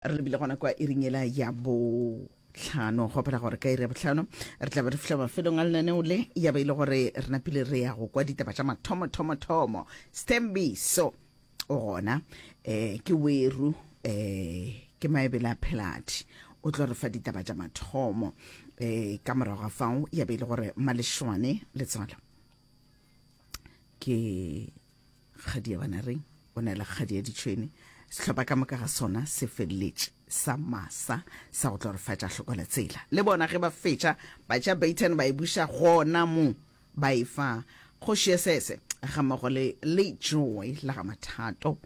Re lebile gona kwa iring yela ya bohlano. Gopela gore ka iri ya bohlano re tla be re fihla mafelong a lenaneo le, ya be e le gore re napile re ya go kwa ditaba tša mathomo thomo thomo. Sthembiso o gona, eh, ke weru, eh, ke maebele a pheladi, o tlo re fa ditaba tša mathomo. Eh, ka morago ga fao ya be e le gore Malešwane Letswalo ke Kgadi ya Banareng o na le kgadi ya ditšhwene. Sehlopha ka moka ga sona se feleletše sa masa sa go tlo re fa tša hlokola tsela. Le bona ge ba fetša ba tša Baton ba e buša gona mo ba e fa kgoši ya sese ga mmogo le le Joy la ga Mathato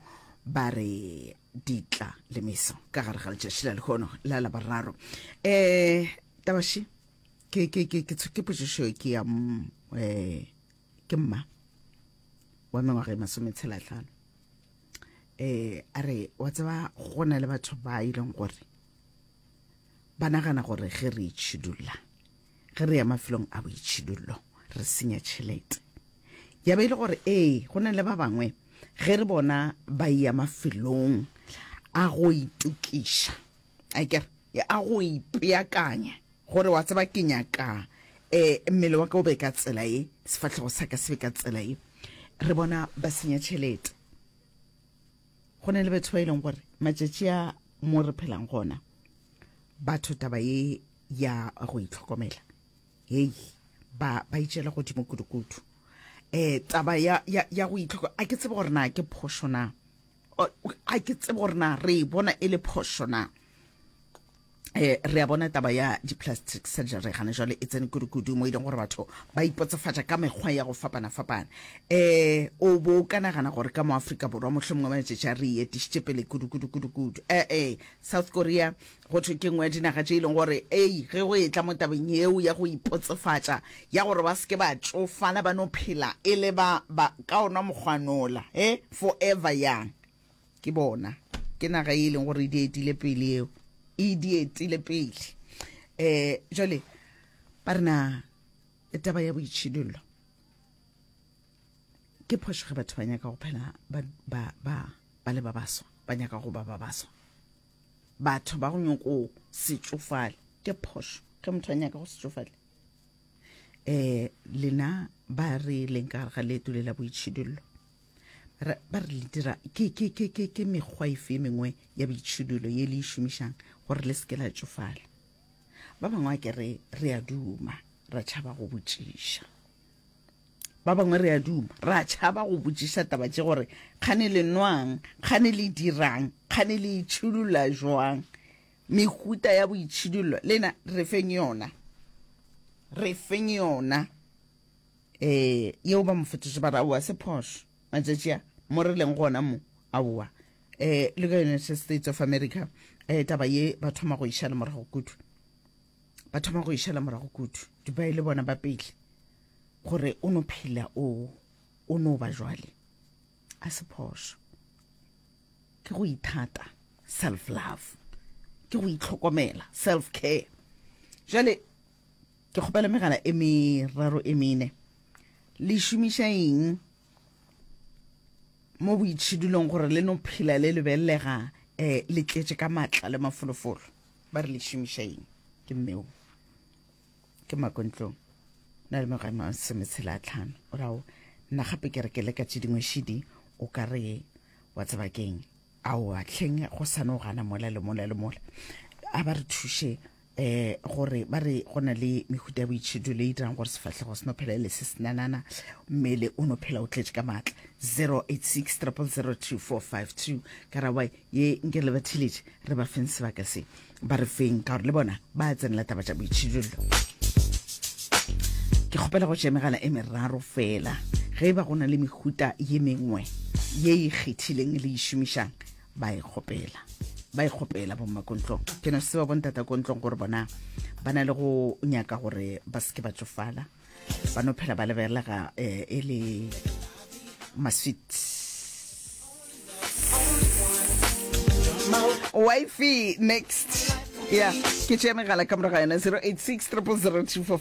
ba re ditla le meso ka gare ga letšatši la lehono la Laboraro. Eh tabaši ke ke ke ke ke potšišo ke ya eh ke mma wa mengwaga e masometshelatlhano um a re wa tseba go na le batho ba e leng gore ba nagana gore ge re itšhidulla ge re ya mafelong a boitšhidullo re senya tšhelete ya be e le gore ee go na le ba bangwe ge re bona ba ya mafelong a go itokiša a kere a go ipeakanya Gore wa tseba ke nyaka eh mmele wa ka o be ka tsela ye, sefahlego sa ka se be ka tsela ye. Re bona ba senya tšhelete. Go na le batho ba e leng gore matšatši a mo re phelang gona, batho taba ye ya go itlhokomela, hei, ba ba itšela godimo kudu-kudu. Eh taba ya ya ya go itlhokomela, a ke tsebe gore na ke phošo na. A ke tsebe gore na re e bona e le phošo na. Eh, re a bona taba ya di-plastic surgery gane jwale e tsene kudu-kudu mo e leng gore batho ba ipotsefatša ka mekgwa ya go fapana-fapana. Eh, o bo o ka nagana gore ka mo Afrika Borwa mohlomongwe matšatši a re e etišitše pele kudu-kudu-kudu-kudu. Eh, eh, South Korea go thwe ke nngwe ya dinaga tše e leng gore ei ge go etla mo tabeng yeo ya go ipotsefatša ya gore ba se ke ba tšofala ba no phela e le ba, ba ka ona mokgwanola, eh, forever young. Ke bona. Ke naga ye e leng gore e di etile pele eo. E di etile pele. Eh, jwale, ba re na taba ya boitšhidullo ke phošo ge batho ba nyaka go phela ba, ba, ba, ba le ba baswa, ba nyaka go ba ba baswa. Batho ba go nyoko se tšofale, ke phošo ge motho a nyaka go se tšofale. Eh, lena ba re leng ka gare ga leeto le la boitšhidullo, Re, ba re le dira ke, ke, ke, ke, ke mekgwa efe e mengwe ya boitšhidullo ye le e šomišang gore le se ke la tšofala? Ba bangwe a ke re re a duma, ra tšhaba go botšiša. Ba bangwe re a duma, ra tšhaba go botšiša taba tše gore kgane le nwang, kgane le dirang, kgane le itšhidulla jwang. Mehuta ya boitšhidullo, lena re feng yona, re feng yona. Eh, yeo ba mo fetoše ba re aowa se phošo matšatši a mo re leng gona mo aowa. Eh, le ka United States of America eh, taba ye ba thoma go išala morago kudu, ba thoma go išala morago kudu. Dubai le bona ba pele gore o no phela o o no ba jwale a se phošo ke go ithata self love ke go itlhokomela self care jale Ke kgopela megala e meraro e mene. Le šomiša eng mo boitšhidulong gore le no phela le lebelelega um le tletše ka maatla le mafolofolo? Ba re le šomiša eng? Ke mmeo ke makontlong na le mengwaga e masometshela a tlhano o rao nna gape ke re ke leka tše dingwe šidi o ka re wa tseba keng aowa hleng go sa no gana mola le mola le mola a ba re thuše eh gore ba re go na le mehuta ya boitšhidullo e dirang gore sefahlego se no phela e le se senanana mmele o no phela o tletše ka maatla 086 0002452 karabo ye nke le ba theletše re ba feng sebaka se ba re feng ka gore le bona ba tsenela taba tša boitšhidullo ke kgopela go tšea megala e meraro fela ge e ba go na le mehuta ye mengwe ye e kgethileng le e šomišang ba e kgopela ba e kgopela bommakontlong ke no se ba bontata kontlong gore bona ba na le go nyaka gore ba seke ba tsofala ba no phela ba lebelega eh, e le masweet wifi next ya ke tšea megala ka morago ga yona 086 000 24.